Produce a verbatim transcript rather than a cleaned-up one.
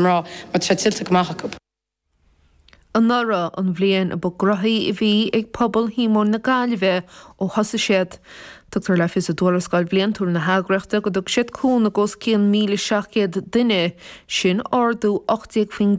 mná mar tá sé tuillte go maith acu. Anuraidh an bhliain a ba ghnoithí a bhí ag pobal Shíomóin na Gaillimhe ó thosaigh siad. Tugtar le fios i dtuarascáil bhliantúil na heagraíochta go dtug siad cúnamh os cionn míle seacht gcéad duine, sin ardú ocht déag faoin